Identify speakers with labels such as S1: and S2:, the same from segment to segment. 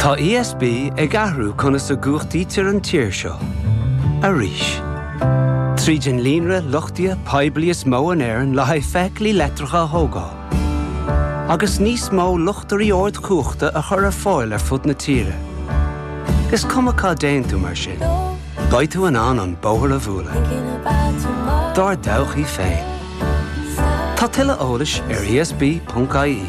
S1: Tá ESB ag athrú conas a gcumhachtaítear an tír seo. Arís. Tríd an líonra luchtaithe poiblí is mó in Éirinn le haghaidh feithiclí leictreacha a thógáil. Agus níos mó luchtairí ardchumhachta a chur ar fáil ar fud na tíre. Is cuma cá dtéann tú mar sin, beidh tú in ann an bóthar a bhualadh. Dár dtodhchaí féin. Tá tuilleadh eolais ar esb.ie.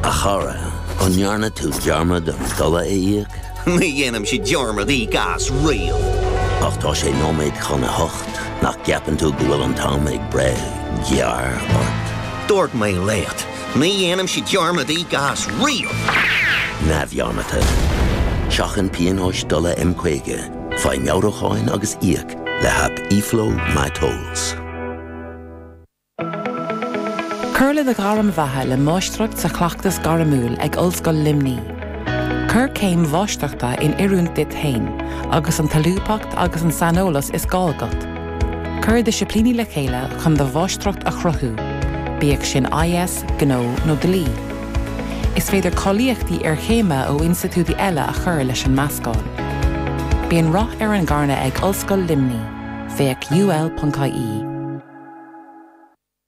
S2: A chara, an ndearna tú dearmad an dola a íoc?
S3: Ní dhéanaimse dearmad íoc as riamh.
S2: Ach tá sé nóiméad chun a hocht, nach gceapann tú go bhfuil an t-am ag breith gearr ort?
S3: Dúirt mé leat, ní dhéanaimse dearmad íoc as riamh!
S2: Neamhdhearmadta. Seachain pionóis dola M50, faigh meabhrúcháin agus íoc le haip eFlow MyTolls.
S4: Cuir le do ghairm bheatha le Máistreacht sa Chleachtas Gairmiúil ag Ollscoil Luimnigh. Cuir céim mháistreachta in oiriúint duit féin agus an tsolúbthacht agus an saineolas is gá agat. Cuir disciplíní le chéile chun do mháistreacht a chruthú, bíodh sin IS, Gnó nó Dlí. Is féidir cáilíochtaí iarchéime ó institiúidí eile a chur leis an meascán. Bíonn rath ar an gcarnadh ag Ollscoil Luimnigh. Féach ul.ie.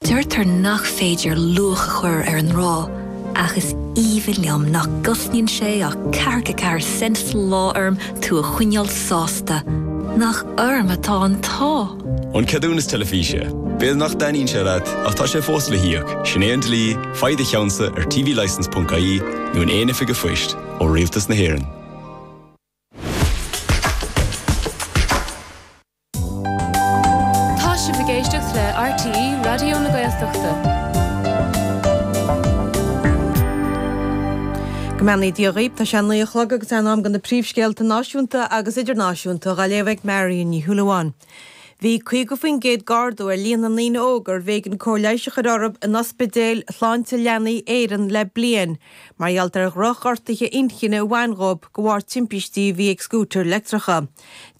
S5: Deirtear nach féidir luach a chur ar an ngrá, ach is aoibhinn liom nach gcosnaíonn sé ach ceathracha ceathair cent sa lá orm tú a choinneáil sásta. Nach orm atá an t-ádh!
S6: An ceadúnas teilifíse. B'fhéidir nach dtaitníonn sé leat, ach tá sé fós le híoc. Sin é an dlí, faigh do cheannsa ar tvlicence.ie nó in aon oifig an phoist ó Rialtas na hÉireann.
S7: Tá sibh ag éisteacht le RTÉ Raidió na Gaeltachta.
S8: Go mbeannaí Dia dhaoibh, tá sé a naoi a chlog agus é in am do na príomhscéalta náisiúnta agus idirnáisiúnta dhá léamh ag Marion Ní Shúilleabháin. Bhí 50% d'ardú ar líon na ndaoine óga arbh éigean cóir leighis a chur orthu in ospidéil Shláinte Leanaí Éireann le bliain mar gheall ar dhroch-ghortuithe inchinne a bhain dhóibh de bharr timpistí a bhí ag scútair leictreacha.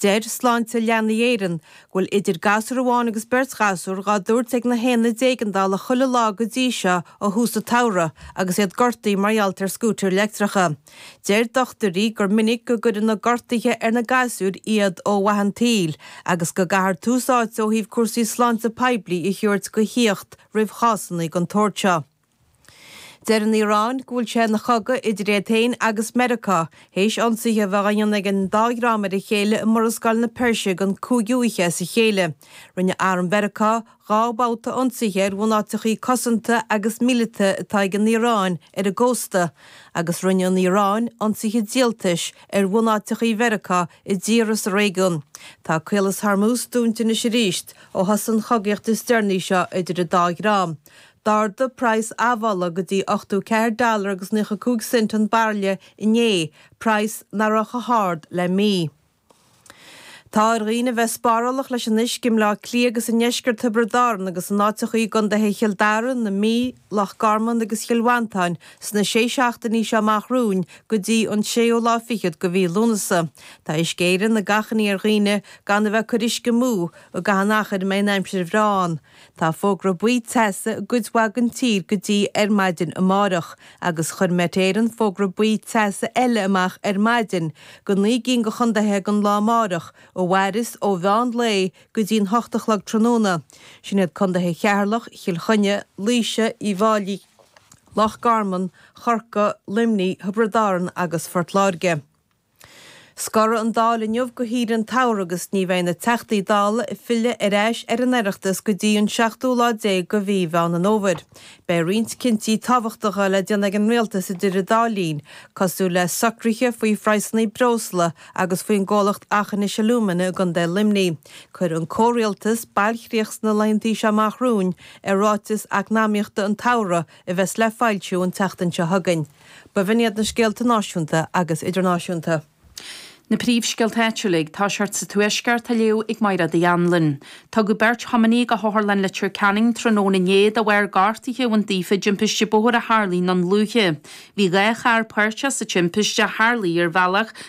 S8: Deir Sláinte Leanaí Éireann go bhfuil idir gasúr amháin agus beirt ghasúr dhá dtabhairt ag na haonaid éigeandála chuile lá go dtí seo ó thús an tsamhraidh agus iad gortaithe mar gheall ar scútair leictreacha. Deir dochtúirí gur minic go gcuireann na gortuithe ar na gasúir iad ó mhaith an tsaoil agus go gcaithfear tús áite ó thaobh cúrsaí sláinte poiblí a thabhairt go thíocht roimh chásanna den tsórt seo. Deir an Iaráin go bhfuil sé ina chogadh idir iad féin agus Meiriceá, théis ionsaithe a bheith á ndéanamh ag an dá dhream ar a chéile i Murascaill na Peirse don cúigiú oíche as a chéile. Rinne arm Mheiriceá 2 bhabhta ionsaithe ar bhunáiteachaí cosanta agus míleata atá ag an Iaráin ar an gcósta, agus rinne an Iaráin ionsaithe díoltais ar bhunáiteachaí Mheiriceá i dtíortha sa réigiún. Tá Caolas Hormuz dúnta anois arís ó thosaigh an chogaíocht is deireanaí seo idir an dá dhream. D'ardaigh praghas admhála go dtí 84 dollar agus 95 cent an bairille inné, praghas nach raibh chomh hard le mí. Tá ar dhaoine a bheith spárálach leis an uisce i mBleá Cliath agus i ndeisceart Thiobraid Árann agus in áiteachaí i gcontaetha Chill Dara, na Mí, Loch Garman agus Chill Mhantáin sna sé seachtainí seo amach romhainn go dtí an séú lá fichead de mhí Lúnasa. Tá Uisce Éireann ag achainí ar dhaoine gan a bheith ag cur uisce amú i gcaitheamh an achair a mbeidh an aimsir bhreá ann. Tá fógra buí teasa i gcuid mhaith den tír go dtí ar maidin amárach agus chuir Met Éireann fógra buí teasa eile amach ar maidin go naoi gcinn de chontaetha don lá amárach a mhairfeas ó mheán lae go dtí an hocht a chlog tráthnóna. Sin iad contaetha Cheatharlach, Chill Chainnigh, Laoise, Uíbh Fháilí, Loch Garman, Chorcaí, Luimnigh, Thiobraid Árann agus Phort Láirge. Scorfaidh an Dáil inniu go shaoire an tsamhraidh agus ní bheidh na Teachtaí Dála ag filleadh ar ais ar an Oireachtas go dtí an seachtú lá déag de mhí Mheán an Fhómhair. Beidh roinnt cinntí tábhachtacha le déanamh ag an Rialtas idir an dá linn, cosúil le socruithe faoi phraghsanna breosla agus faoin gcomhlacht Aughinish Alumina i gContae Luimnigh. Cuirfidh an comhrialtas bailchríoch sna laethantaí seo amach romhainn ar ráiteas eacnamaíochta an tsamhraidh a bheas le foilsiú an tseachtain seo chugainn. B'in iad na scéalta náisiúnta agus idirnáisiúnta.
S9: Na príomhscéalta áitiúla ag toiseacht sa Tuaisceart á léamh ag Mairéad Uí Anluain. Tugadh beirt thiománaí go hOtharlann Leitir Ceanainn tráthnóna inné de bharr gortuithe a bhain daofa i dtimpiste bóthair a tharlaigh ann luaithe. Bhí 2 charr páirteach sa timpiste a tharlaigh ar bhealach.